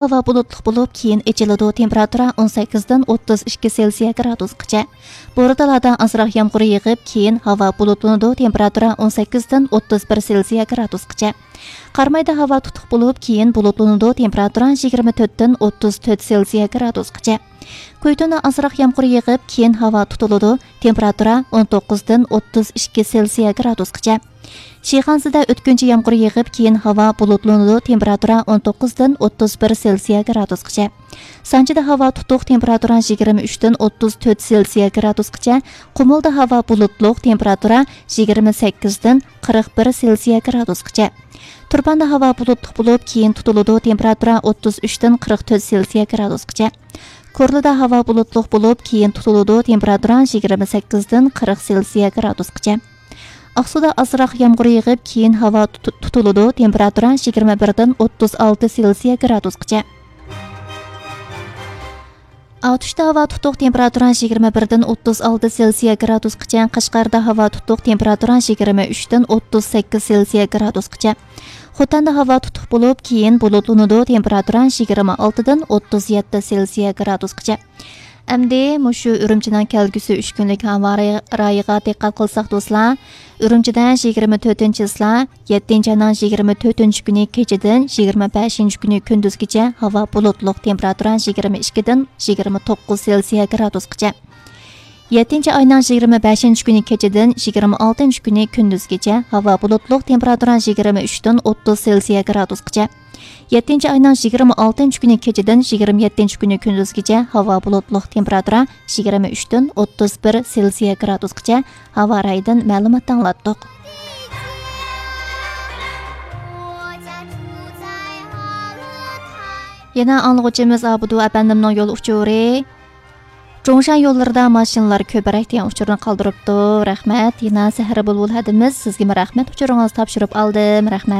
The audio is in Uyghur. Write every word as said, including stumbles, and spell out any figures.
ھاۋا بۇلۇتلۇق بولۇپ، كېيىن ئېچىلىدۇ، تېمپېراتۇرا ئون سەككىزدىن ئوتتۇز ئىككى سېلسىيە گرادۇسقىچە. بورتالادا ئازراق يامغۇر يېغىپ، كېيىن ھاۋا بۇلۇتلىنىدۇ، تېمپېراتۇرا ئون سەككىزدىن ئوتتۇز بىر سېلسىيە گرادۇسقىچە. قارامايدا ھاۋا تۇتۇق بولۇپ، كېيىن بۇلۇتلىنىدۇ، تېمپېراتۇرا يىگىرمە تۆتتىن ئوتتۇز تۆت سېلسىيە گرادۇسقىچە. كۇيتۇندا ئازراق يامغۇر يېغىپ، كېيىن ھاۋا تۇتۇلىدۇ، تېمپېراتۇرا ئون توققۇزدىن ئوتتۇز ئىككى سېلسىيە گرادۇسقىچە. شىخەنزىدە ئۆتكۈنچى يامغۇر يېغىپ، كېيىن ھاۋا بۇلۇتلىنىدۇ، تېمپېراتۇرا ئون توققۇزدىن ئوتتۇز بىر سېلسىيە گرادۇسقىچە. سانجىدا ھاۋا تۇتۇق، تېمپېراتۇرا يىگىرمە ئۈچتىن ئوتتۇز تۆت سېلسىيە گرادۇسقىچە. قۇمۇلدا ھاۋا بۇلۇتلۇق، تېمپېراتۇرا يىگىرمە سەككىزدىن قىرىق بىر سېلسىيە گرادۇسقىچە. تۇرپاندا ھاۋا بۇلۇتلۇق بولۇپ، كېيىن تۇتۇلىدۇ، تېمپېراتۇرا ئوتتۇز ئۈچتىن قىرىق تۆت سېلسىيە گرادۇسقىچە. كورلىدا ھاۋا بۇلۇتلۇق بولۇپ، كېيىن تۇتۇلىدۇ، تېمپېراتۇرا يىگىرمە سەككىزدىن قىرىق سېلسىيە گرادۇسقىچە. ئاقسۇدا ئازراق يامغۇر يېغىپ، كېيىن ھاۋا تۇت-، تۇتۇلىدۇ، تېمپېراتۇرا يىگىرمە بىردىن ئوتتۇز ئالتە سېلسىيە گرادۇسقىچە. ئاتۇشتا ھاۋا تۇتۇق، تېمپېراتۇرا يىگىرمە بىردىن ئوتتۇز ئالتە سېلسىيە گرادۇسقىچە. قەشقەردە ھاۋا تۇتۇق، تېمپېراتۇرا يىگىرمە ئۈچتىن ئوتتۇز سەككىز سېلسىيە گرادۇسقىچە. خوتەندە ھاۋا تۇتۇق بولۇپ، كېيىن بۇلۇتلىنىدۇ، تېمپېراتۇرا يىگىرمە ئالتىدىن ئوتتۇز يەتتە سېلسىيە گرادۇسقىچە. ئەمدى مۇشۇ ئۈرۈمچىنىڭ كەلگۈسى ئۈچ كۈنلۈك ھاۋا رايى-، رايىغا دىققەت قىلساق، دوستلار، ئۈرۈمچىدە يىگىرمە تۆتىنچى چىسلا، يەتتىنچى ئاينىڭ يىگىرمە تۆتىنچى كۈنى كېچىدىن يىگىرمە بەشىنچى كۈنى كۈندۈزگىچە ھاۋا بۇلۇتلۇق، تېمپېراتۇرا يىگىرمە ئىككىدىن يىگىرمە توققۇز سېلسىيە گرادۇسقىچە. يەتتىنچى ئاينىڭ يىگىرمە بەشىنچى كۈنى كېچىدىن يىگىرمە ئالتىنچى كۈنى كۈندۈزگىچە ھاۋا بۇلۇتلۇق، تېمپېراتۇرا يىگىرمە ئۈچتىن ئوتتۇز سېلسىيە گرادۇسقىچە. يەتتىنچى ئاينىڭ يىگىرمە ئالتىنچى كۈنى كېچىدىن يىگىرمە يەتتىنچى كۈنى كۈندۈزگىچە ھاۋا بۇلۇتلۇق، تېمپېراتۇرا يىگىرمە ئۈچتىن ئوتتۇز بىر سېلسىيە گرادۇسقىچە ھاۋا رايىدىن مەلۇمات ئاڭلاتتۇق. يەنە ئاڭلىغۇچىمىز ئابدۇ ئەپەندىمنىڭ يول ئۇچۇرى. جۇڭشەن يوللىرىدا ماشىنىلار كۆپرەك دېگەن ئۇچۇرنى قالدۇرۇپتۇ. رەھمەت. يەنە سەھەر بۇلبۇل ھەدىمىز سىزگىمۇ رەھمەت ئۇچۇرىڭىزنى تاپشۇرۇپ ئالدىم. رەھمەت.